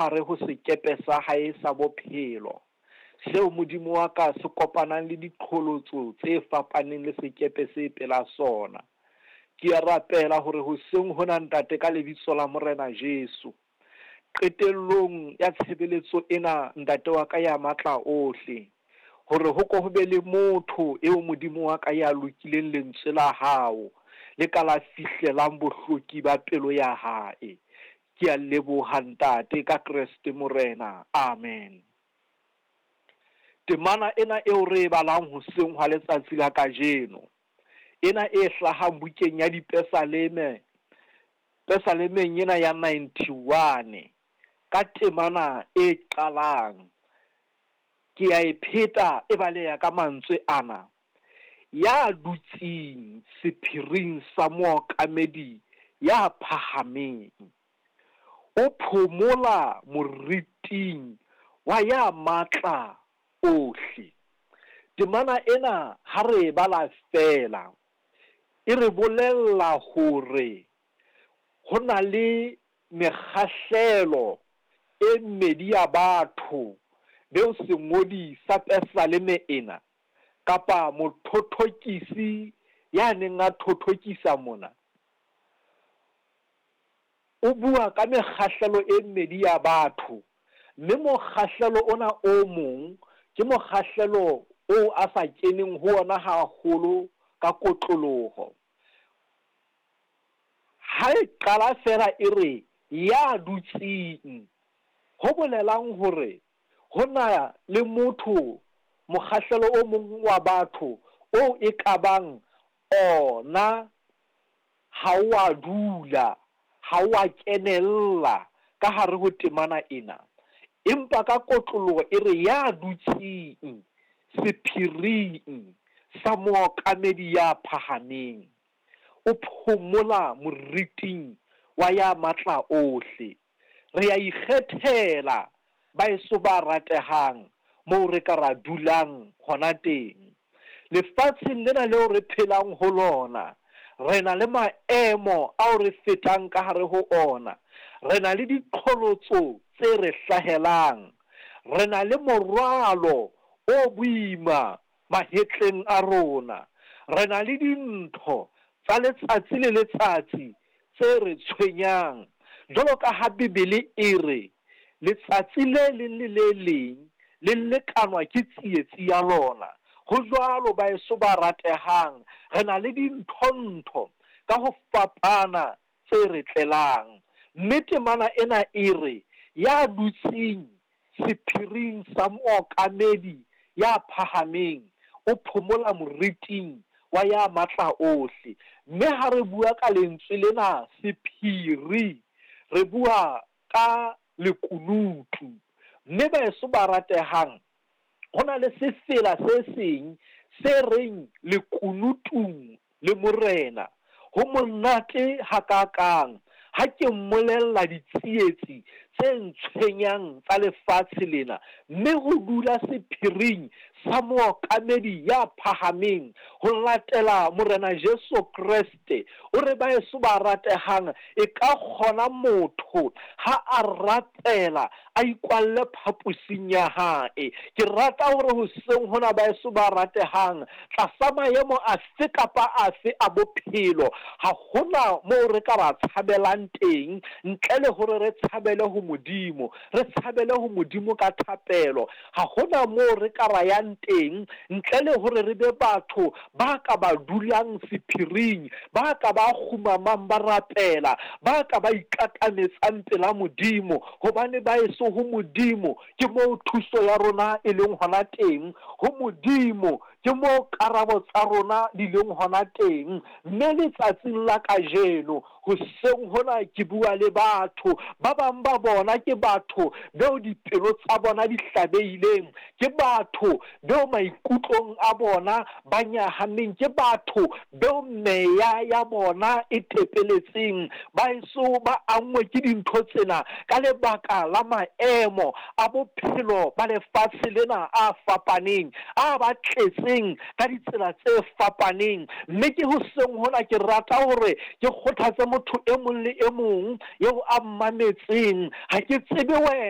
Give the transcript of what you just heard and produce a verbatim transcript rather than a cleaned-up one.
Hare ho sekepe sa hae sa bophelo, seo Modimo wa ka se kopanang le diqholotso tse fapaneng le sekepe se pela sona. Ke a rapela hore hoseng hona, Ntate, ka lebitso la Morena Jesu, qetellong ya tshebeletso ena, Ntate wa ka ya matla ohle, hore ho ko ho be le motho eo Modimo wa ka ya lokileng lentswe la hao le ka la fihlelang bohloki ba pelo ya hae. Ke a leboha, Ntate, ka Kreste Morena. Amen. Temana ena eo re e balang hoseng hwa letsatsi la kajeno, ena e hlahang bukeng ya Dipesaleme, Pesalemeng ena ya ninety-one, ka temana e qalang, ke a e pheta e baleha ka mantswe ana: ya dutseng sephiring sa mookamedi ya phahameng, o phomola moriting wa ya matla ohle. Temana ena ha re e bala feela, e re bolella hore ho na le mekgahlelo e mmedi ya batho beo sengodi sa Pesaleme ena kapa mothothokisi ya neng a thothokisa mona, o bua ka mekgahlelo e mmedi ya batho, mme mokgahlelo ona o mong ke mokgahlelo oo a sa keneng ho ona haholo ka kotloloho. Ha e qala feela e re ya dutseng, ho bolelang hore ho na le motho, mokgahlelo o mong wa batho oo e ka bang ona ha o a dula, ha o a kenella ka hare ho temana ena. Empa ka kotloloho e re ya dutseng sephiring sa mookamedi ya phahameng, o phomola moriting wa ya matla ohle. Re a ikgethela, baeso ba ratehang, moo re ka ra dulang hona teng. Lefatsheng lena leo re phelang ho lona, re na le maemo ao re fetang ka hare ho ona. Re na le diqholotso tse re hlahelang. Re na le morwalo o boima mahetleng a rona. Re na le dintho tsa letsatsi le letsatsi tse re tshwenyang. Jwalo ka ha Bibele e re, letsatsi le leng le le leng le lekanwa ke tsietsi ya lona. Ho jwalo, baeso ba ratehang, re na le dintho-ntho ka ho fapana tse re tlelang. Mme temana ena e re, ya dutseng sephiring sa mookamedi ya phahameng, o phomola moriting wa ya matla ohle. Mme ha re bua ka lentswe lena sephiri, re bua ka lekunutu. Mme baeso ba ratehang, ho na le sefela se seng se reng lekunutung le Morena. Ho monate hakakang ha ke mmolella ditsietsi tse ntshwenyang tsa lefatshe lena, mme ho dula sephiring sa mookamedi ya phahameng ho latela Morena Jesu Kreste. O re baeso ba ratehang, e ka kgona motho ha a rapela a ikwalle phaposing ya hae. Ke rata hore hoseng hona, baeso ba ratehang, tlasa maemo afe kapa afe a bophelo, ha hona moo re ka ra tshabelang teng ntle le hore re tshabele ho Modimo, re tshabele ho Modimo ka thapelo. Ha hona moo re ka ra yang teng ntle le hore re be batho ba ka ba dulang sephiring, ba ka ba kgumamang ba rapela, ba ka ba ikatametsang pela Modimo, hobane ba eso ho Modimo ke moo thuso ya rona e leng hona teng. Ho Modimo ke moo karabo tsa rona di leng hona teng. Mme letsatsing la kajeno hoseng hona ke bua le batho ba bang ba bona ke batho beo dipelo tsa bona di hlabehileng, ke batho beo maikutlong a bona ba nyahameng, ke batho beo meya ya bona e tepeletseng, ba eso ba anngwe ke dintho tsena ka lebaka la maemo a bophelo ba lefatshe lena a fapaneng, a ba tletseng ka ditsela tse fapaneng. Mme ke hoseng hona ke rata hore ke kgothatse motho e mong le e mong eo a mmametseng. Ha ke tsebe wena